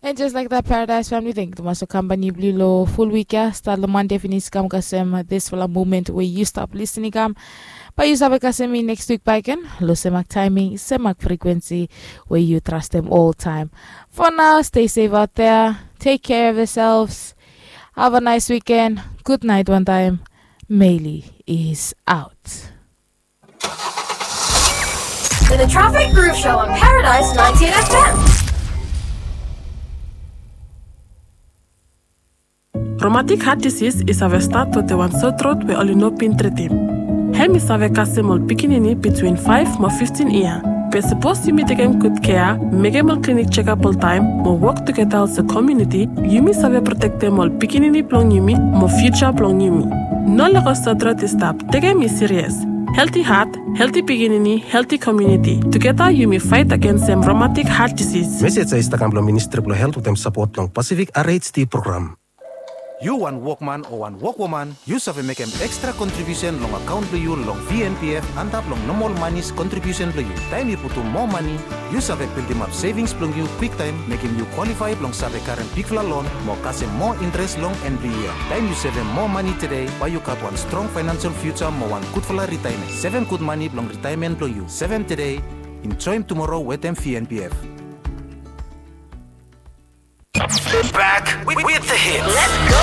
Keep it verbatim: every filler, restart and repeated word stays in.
And just like that, Paradise family, thank you tumas long kampani blong yu long ful wik ya, stat long Mande finis kam kasem disfala moment we yu stap lisin i kam. Bae yu save kasem mi neks wik bakegen long semak taeming, semak frikwensi we yu trastem oltaem. For now, stay safe out there. Take care of yourselves. Have a nice weekend. Good night one time. Meili is out. The Traffic Groove Show on Paradise ninety-eight F M. Romatik hat disis i save stat wetem wan sotrot we oli no bin tritim. Hem i save kasem ol pikinini bitwin faef mo fiftin yia. Be sapos yumi tekem gud kea, mekem ol klinik jekap oltaem mo wok tugeta olsem komuniti, yumi save protektem ol pikinini blong yumi mo fiuja blong yumi. No lego sotrot i stap, tekem i sirias. Helti hat, helti pikinini, helti komuniti. Tugeta yumi faet agensem romatik hat disis. Mesej ya i stap kam blong Ministri blong Helt wetem sapot blong Pasifik R H D program. Yu wan wokman o wan wokwoman, yu save mekem ekstra kontribiusen long akaon blong yu long V N P F antap long nomol manis kontribiusen blong yu. Taem yu putum moa mani, yu save bildimap sevings blong yu kwiktaem, mekem yu kwalifae blong save karem bigfala lon mo kasem moa intres long en blong yia. Taem yu sevem moa mani tede, bae yu gat wan strong faenansel fiuja mo wan gudfala ritaemen. Sevem gud mani blong ritaemen blong yu. Sevem tede, enjoem tumoro wetem V N P F. Back with, with the hits. Let's go.